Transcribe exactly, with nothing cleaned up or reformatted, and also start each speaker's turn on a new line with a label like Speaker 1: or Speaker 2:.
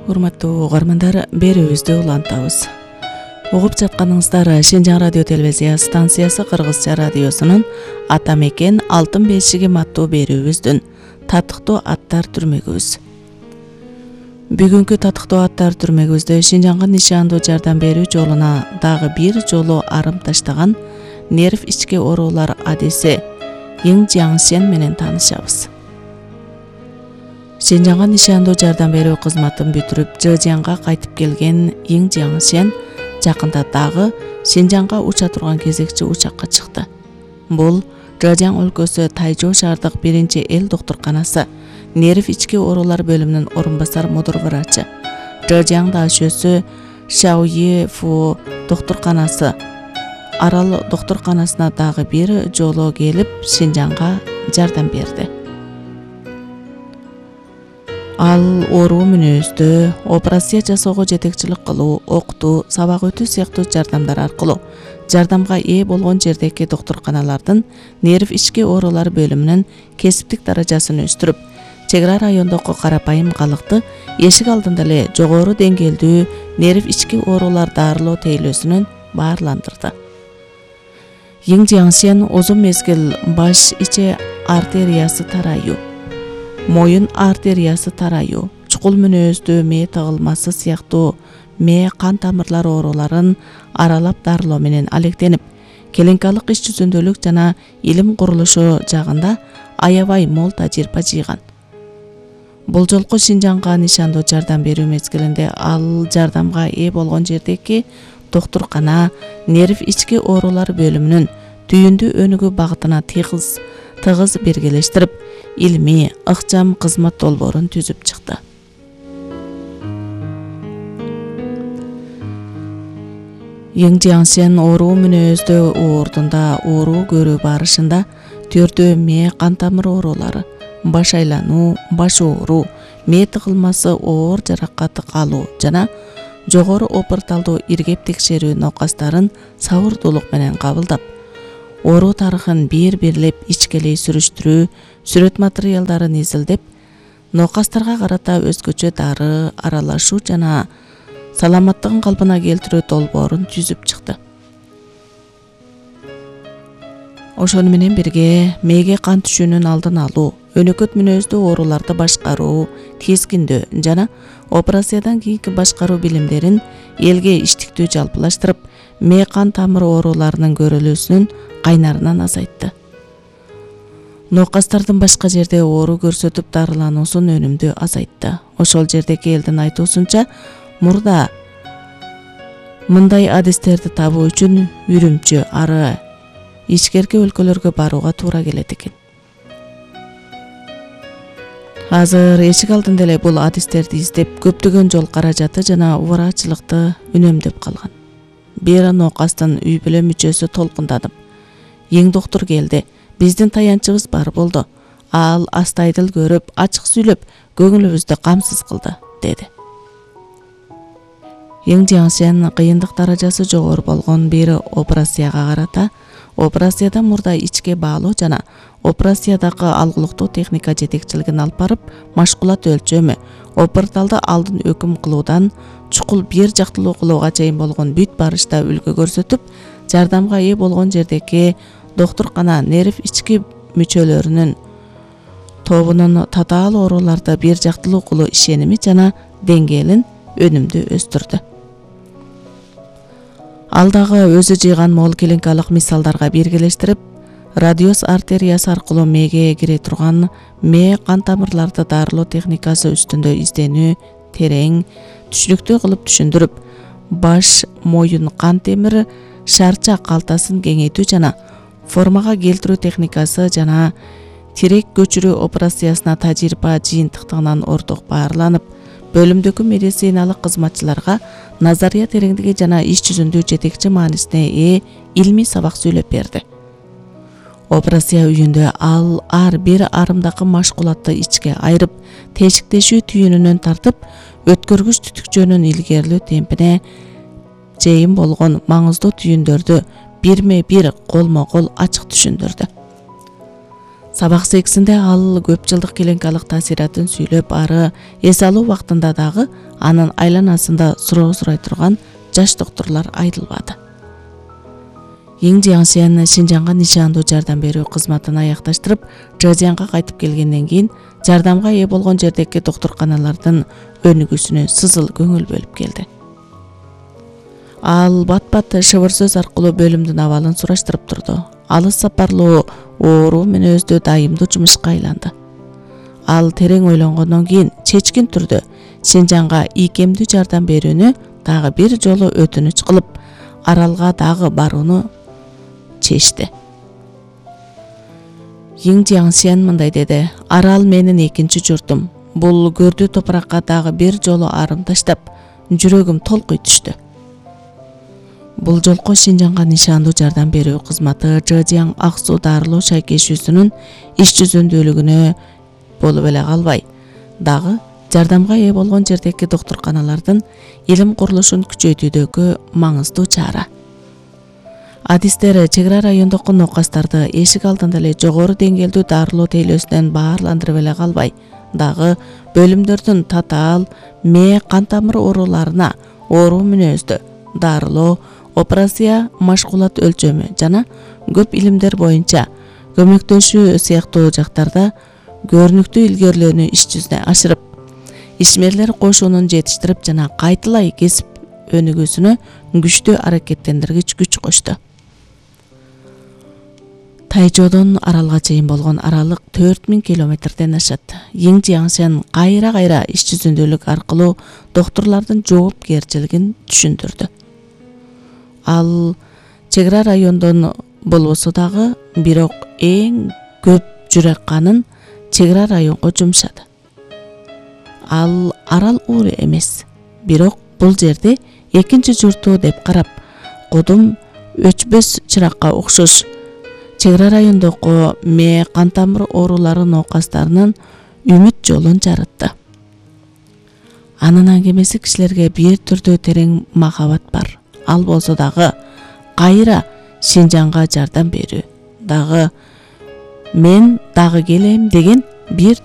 Speaker 1: Урматтуу угармандар, берүүбүздү улантабыз. Угуп жатканыңыздар Шинжаң радио телевизия станциясы Кыргызча радиосунун Ата мекен алтын бешигим аттуу берүүбүздүн татыктуу аттар түрмөгүбүз. Бүгүнкү татыктуу аттар түрмөгүбүздө Шинжаңга нишандуу жардам берүү жолуна дагы бир жолу арым таштаган нерв ички оорулар адиси Йин Жиаңсен менен таанышабыз. Шинжаңга нишандуу жардам берүү кызматын бүтүрүп, Жыжянга кайтып келген Йин Жиаңсен жакында дагы Шинжаңга уча турган кезекчи учакка чыкты. Бул Жыжяң өлкөсү Тайжоо шаардык биринчи эл доктурканасы нерв ички оорулар бөлүмүнүн орун басар мудур врачы, Жыжяң дашөсү Шаои Фу доктурканасы Арал доктурканасына дагы бир жолу келип Шинжаңга жардам берди. Ал ооруу мүнөздө операция жасоого жетекчилик кылуу, окутуу, сабак өтүү сыяктуу жардамдар аркылуу жардамга ээ болгон жердеги доктурканалардын нерв ички оорулар бөлүмүнүн кесиптик даражасын өстүрүп, чек ара райондогу карапайым калыкты эшик алдында эле жогору деңгээлдүү нерв ички оорулар дарылоо тейлөөсүнөн баарландырды. Йин Жиаңсен узун мезгил баш ичи артериясы тарайуу, моюн артериясы тарайуу, чукул мүнөздүү мээ тыгылмасы сыяктуу мээ кан тамырлар ооруларын аралап дарылоо менен алектенип, клиникалык иш жүзүндөлүк жана илим курулушу жагында аябай мол тажрыйба жыйган. Бул жолку Шинжаңга нишандуу жардам берүү мезгилинде ал жардамга ээ болгон жердеги доктуркана нерв ички оорулар бөлүмүнүн түйүндүү өнүгүү багытына тыгыз тыгыз биргелештирип, илмий, ыкчам кызмат долбоорун түзүп чыкты. Йин Жиаңсен ооруу мүнөздө ордунда ооруу көрүү барышында төрдөө мээ кан тамыр оорулары, баш айлануу, баш ооруу, мээ тыгылмасы оор жаракат алуу жана жогору опорталдуу иргеп текшерүү нокастарын сабырдуулук менен кабылдап, ооруу тарыхын бир-бирлеп ичкелей сүрүштүрүү, сүрөт материалдарын изилдеп, нокастарга карата өзгөчө дары аралашуу жана саламаттыгын калпына келтирүү долбоорун түзүп чыкты. Ошону менен бирге мээге кан түшүүнүн алдын алуу, өнөкөт мүнөздүү ооруларды башкаруу, тизгиндөө жана операциядан кийинки башкаруу билимдерин элге иштиктүү жалпылаштырып, мээ кан тамыр ооруларынын көрүлүүсүнүн кайнарынан азайтты. Нокастардын башка жерде оору көрсөтүп дарылануусун өнүмдүү азайтты. Ошол жердеги элдин айтуусунча, мурда мындай адистерди табуу үчүн Үрүмчү, ары ичкерки өлкөлөргө барууга туура келет экен. Азыр эшик алдында эле бул адистерди издеп, көптөгөн жол каражаты жана врачылыкты үнөмдөп калган. Бир нокастын үй бүлө мүчөсү толкунданып, Йин доктур келди, биздин таянчыбыз бар болду. Ал астайдыл көрүп, ачык сүйлөп, көңүлүбүздү камсыз кылды, деди. Йин Жиаңсен кыйындык даражасы жогору болгон бир операцияга карата, операцияда мурда ичке баалоо жана операциядагы алгылыктуу техника жетекчилигин алып барып, машкулат өлчөмү, опорталды алдын өкүм кылуудан чукул бир жактылуу кылууга чейин болгон бүт барышта үлгү көрсөтүп, жардамга ээ болгон жердеги доктуркана нерв ички мүчөлөрүнүн тобунун татаал ооруларды бир жактылуу кылуу ишеними жана деңгээлин өнүмдүү өстүрдү. Ал дагы өзү жыйган мол клиникалык мисалдарга биргелештирип, радиус артериясы аркылуу мээге кире турган мээ кан тамырларды дарылоо техникасы үстүндө изденүү терең, түшүнүктүү кылып түшүндүрүп, баш, моюн кан темир шарча калтасын кеңейтүү жана формага келтирүү техникасы жана тирек көчүрүү операциясына тажрыйба жыйынтыктыгынан орток баарланып, бөлүмдөгү медициналык кызматчыларга назария тереңдиги жана иш жүзүндө жетекчи маанисине ээ илмий сабак сүйлөп берди. Операция үйүндө ал ар бир арымдакы машкулатты ичке айырып, тешиктешүү түйүнүнөн тартып, өткөргүч түтүкчөнүн илгерилүү темпине чейин болгон маңыздуу түйүндөрдү бирме бир колмо кол ачык түшүндүрдү. Сабак сексинде ал көп жылдык клиникалык таасиратын сүйлөп, ары эс алуу убактында дагы анын айланасында суроо сурай турган жаш докторлор айрылбады. Иң Жиаңсен Шинжаңга нишандуу жардам берүү кызматын аякташтырып, Чжэцзянга кайтып келгенден кийин жардамга ээ болгон жердеги доктурканалардын өнүгүүсүнө сызыл көңүл бөлүп келди. Ал бат-бат шыбыр сөз аркылуу бөлүмдүн абалын сураштырып турду. Алыс сапарлуу оору мүнөздүү дайымдуу жумушка айланды. Ал терең ойлонгондон кийин чечкин түрдө Шинжаңга ийкемдүү жардам берүүнү дагы бир жолу өтүнүч кылып, Аралга дагы барууну чечти. Иң Жиаңсен мындай деди: Арал менин экинчи журтум. Бул көрдүү топуракка дагы бир жолу арым таштап, жүрөгүм толкуй түштү. Бул жолку Шинжаңга нишандуу жардам берүү кызматы Чжэцзян ак суу дарылоо шайкешүүсүнүн иш жүзүндүүлүгүнө болуп эле калбай, дагы жардамга ээ болгон жердеги доктурканалардын илим курулушун күчөйтүүдөгү маңыздуу чара. Адистер чек ара райондогу нокастарды эшик алдында эле жогору деңгээлдүү дарылоо тейлөөсүнөн баарландырып эле калбай, дагы бөлүмдөрдүн татаал, мээ, кан тамыр ооруларына оору мүнөздө дарылоо, операция, машгулат өлчөмү жана көп илимдер боюнча көмөктөшүү сыяктуу жактарда көрүнүктүү илгерилөөнү иш жүзүнө ашырып, ишмерлер кошунун жетиштирип жана кайталай кесип өнүгүүсүнө күчтүү аракеттендиргич күч кошту. Тайчодон Аралга чейин болгон аралык төрт миң километрден ашат. Иң Жиаңсен кайра-кайра иш жүзүндүүлүк аркылуу доктурлардын жоопкерчилигин түшүндүрдү. Ал чек ара райондон болбосо дагы, бирок эң көп жүрөк канын чек ара районго жумшады. Ал Арал уур эмес, бирок бул жерди экинчи журту деп карап, кудум өчпөс чыракка окшош чек ара райондогу мээ, кан тамыр оорулары нокастарынын үмүт жолун жарытты. Анын аңгемеси кишилерге бир түрдүү терең махабат бар. Ал болсо дагы кайра Шинжаңга жардам берүү, дагы мен дагы келем деген бир